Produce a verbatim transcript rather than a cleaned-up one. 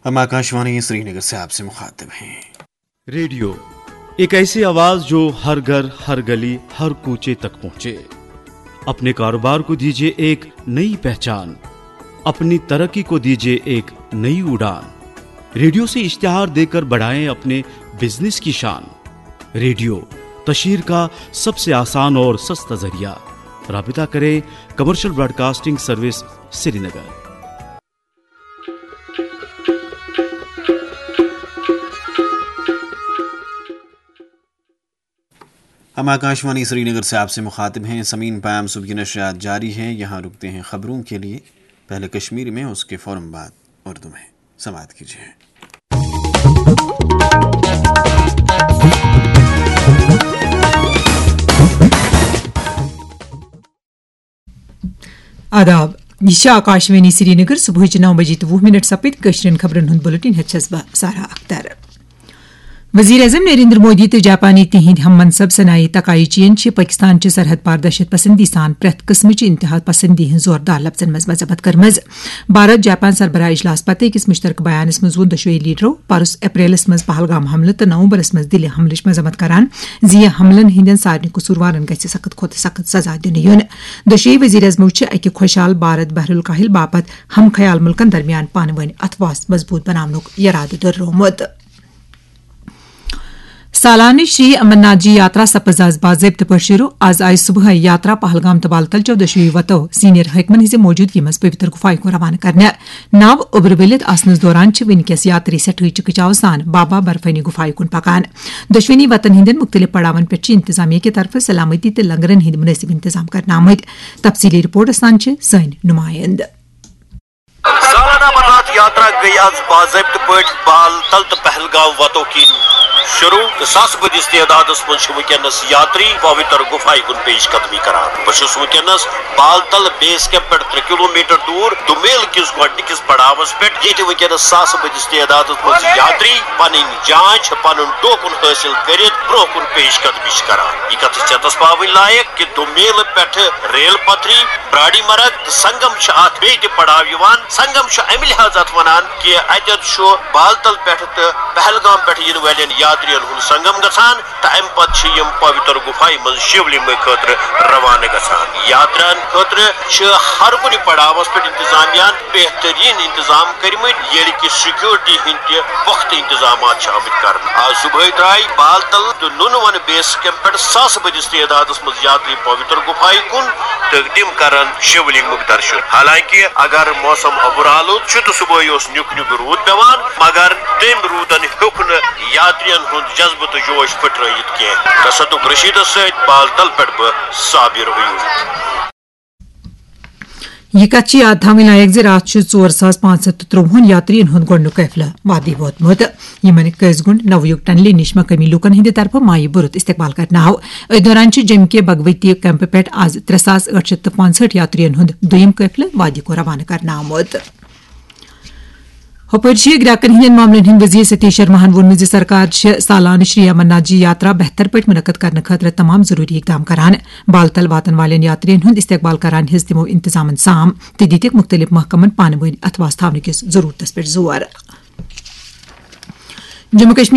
हम आकाशवाणी श्रीनगर से आपसे मुखातिब हैं। रेडियो, एक ऐसी आवाज जो हर घर, हर गली, हर कूचे तक पहुंचे। अपने कारोबार को दीजिए एक नई पहचान, अपनी तरक्की को दीजिए एक नई उड़ान। रेडियो से इश्तिहार देकर बढ़ाएं अपने बिजनेस की शान। रेडियो, तशहीर का सबसे आसान और सस्ता जरिया। राबिता करें कमर्शियल ब्रॉडकास्टिंग सर्विस, श्रीनगर। हम आकाशवाणी श्रीनगर से आपसे मुखातिब हैं। समीन, पैम सुबह की नशरियात जारी है, यहाँ रुकते हैं खबरों के लिए। पहले कश्मीरी में, उसके फौरन बाद उर्दू में। समाप्त कीजिए। آداب، یہ چھِ آکاشوانی سرینگر۔ صبحٕچہِ نو بجے تہٕ وُہ منٹ سپٕدۍ۔ کٲشرٮ۪ن خبرن ہُنٛد بُلٹن ہٮ۪تھ چھَس بہٕ سارا اختر۔ وزیر اعظم نریندر مودی تہٕ جاپانی تِہنٛدۍ ہم منصب سنائی تکائی چین چھِ پٲکستان چہِ سرحد پار دہشت پسندی سان پرٛٮ۪تھ قٕسمٕچہِ انتہا پسندی ہٕنٛز زوردار لفظن منٛز مذمت کٔرمٕژ۔ بھارت جاپان سربراہ اجلاس پتہٕ أکِس مشترکہٕ بیانس منٛز ووٚن دۄشوٕے لیڈرو پرُس اپریلس منٛز پہلگام حملہٕ تہٕ نومبرس منٛز دِلہِ حملٕچ مذمت کران زِ یہِ حملن ہٕنٛدٮ۪ن سارنٕے قصوٗروارن گژھِ سخت کھۄتہٕ سخت سزا دِنہٕ یُن۔ دۄشوٕے وزیر اعظمو چھِ اکہِ خۄشحال بھارت بحر الکاہل باپتھ ہم خیال مُلکن درمیان پانہٕ وٲنۍ اتھواس مضبوٗط بناونُک یرادٕ دۄہرومُت۔ سالانہٕ شری امرناتھ جی یاترا سپٕز آز باضٲبطہٕ پٲٹھۍ شروع۔ آز آیہِ صبحٲے یاترا پہلگام تہٕ بالتل چٮ۪و دۄشوٕے وتو سینئر حٲکمن ہٕنٛزِ موجودگی منٛز پویتر گُفایہِ کُن روانہٕ کرنہٕ۔ ناو اوٚبرٕ ؤلِتھ آسنس دوران چھِ وٕنکیٚس یاتری سٮ۪ٹھٕے چِکہٕ چاوٕ سان بابا برفٲنی گُفایہِ کُن پکان۔ دۄشوٕنی وتن ہٕنٛدٮ۪ن مُختٔلِف پڑاون پٮ۪ٹھ چھِ انتظامیہ کہِ طرفہٕ سلامتی تہٕ لنگرن ہٕنٛدۍ مُنٲسِب انتظام کرنہٕ آمٕتۍ۔ تفصیلی رپورٹ سان چھِ سٲنۍ نُمٲیِنٛدٕ۔ سالانہ امرناتھ یاترا گٔیہِ آز باضٲبطہٕ پٲٹھۍ بال تل تہٕ پہلگام وتو کِنۍ شروع تہٕ ساسہٕ بٔدِس تعدادس منٛز چھِ وٕنکیٚنس یاتری پویتر گُفایہِ کُن پیش قدمی کران۔ بہٕ چھُس وٕنکیٚنس بال تل بیس کیمپ پٮ۪ٹھ ترٛےٚ کلوٗمیٹر دوٗر دُمیل کِس گۄڈٕنِکِس پڑاوس پٮ۪ٹھ، ییٚتہِ وٕنکیٚنس ساسہٕ بٔدِس تعدادس منٛز یاتری پنٕنۍ جانچ، پنُن ٹوکن حٲصِل کٔرِتھ برٛونٛہہ کُن پیش قدمی چھِ کران۔ یہِ کتھ چھِ ژیتس پاوٕنۍ لایق کہِ دُمیل پٮ۪ٹھٕ ریل پتھری، براڈی مرگ تہٕ سنگم چھِ اتھ بیٚیہِ تہِ پڑاو یِوان۔ سنگم چھُ امہِ لحاظ اتھ ونان کہِ اتٮ۪تھ چھُ بالتل پٮ۪ٹھٕ تہٕ پہلگام پٮ۪ٹھٕ یِنہٕ والٮ۪ن یاترین ہُنٛد سنگم گژھان تہٕ امہِ پتہٕ چھِ یِم پویتر گُفایہِ منٛز شِولنگ خٲطرٕ روانہٕ گژھان۔ یاترین خٲطرٕ چھِ ہر کُنہِ پڑاوس پٮ۪ٹھ انتظامیہ ہن بہترین انتظام کٔرمٕتۍ، ییٚلہِ کہِ سیکورٹی ہٕنٛدۍ تہِ پۄختہٕ انتظامات چھِ آمٕتۍ کرنہٕ۔ آز صبحٲے درٛاے بالتل تہٕ نُنہٕ ون بیس کیمپ پٮ۪ٹھ ساسہٕ بٔدِس تعدادس منٛز یاتری پویتر گُفایہِ کُن تہٕ تِم کرن شِولنگُک درشن۔ حالانکہ اگر موسم اوٚبُر آلود چھُ تہٕ صبحٲے اوس نیُک نیُک روٗد پٮ۪وان، مگر تٔمۍ روٗدن ہیوٚک نہٕ یاترین ہُنٛد جذبہٕ تہٕ جوش پھٕٹرٲوِتھ کینٛہہ۔ تصدق رشیدس سۭتۍ بالتل پٮ۪ٹھ بہٕ صابر عیوٗب۔ یہِ کتھ چھِ یاد تھاوٕنۍ لایق زِ راتھ چھُ ژور ساس پانٛژھ ہتھ تہٕ ترٛۆہن یاترین ہُنٛد گۄڈٕنیُک قٲفلہٕ وادی ووتمُت، یِمن قٲضۍ گُنڈ نویوک ٹنلہِ نِش مقٲمی لوٗکن ہٕنٛدِ طرفہٕ مایہِ بُرُت استقبال کرنہٕ آو۔ أتھۍ دوران چھِ جیٚمہِ کہِ بھگوتی کیمپہٕ پٮ۪ٹھ آز ترٛےٚ ساس ٲٹھ شتھ تہٕ پانٛژہٲٹھ یاترین ہُنٛد دوٚیِم قٲفلہٕ وادی کُن روانہٕ کرنہٕ آمُت۔ ہُپٲرۍ چھِ گرٛاکن ہٕنٛدٮ۪ن معاملن ہٕنٛدۍ وزیر ستیش شرماہن ووٚنمُت زِ سرکار چھِ سالانہٕ شری امرناتھ جی یاترا بہتر پٲٹھۍ منعقد کرنہٕ خٲطرٕ تمام ضروٗری اقدام کران۔ بالتل واتن والٮ۪ن یاترین ہُنٛد استقبال کران ہیٚژ تِمو انتظامن سام تہٕ دِتِکھ مُختٔلِف محکمن پانہٕ وٲنۍ اتھواس تھاونہٕ کِس ضروٗرتس پٮ۪ٹھ زور۔ جموں کشمیر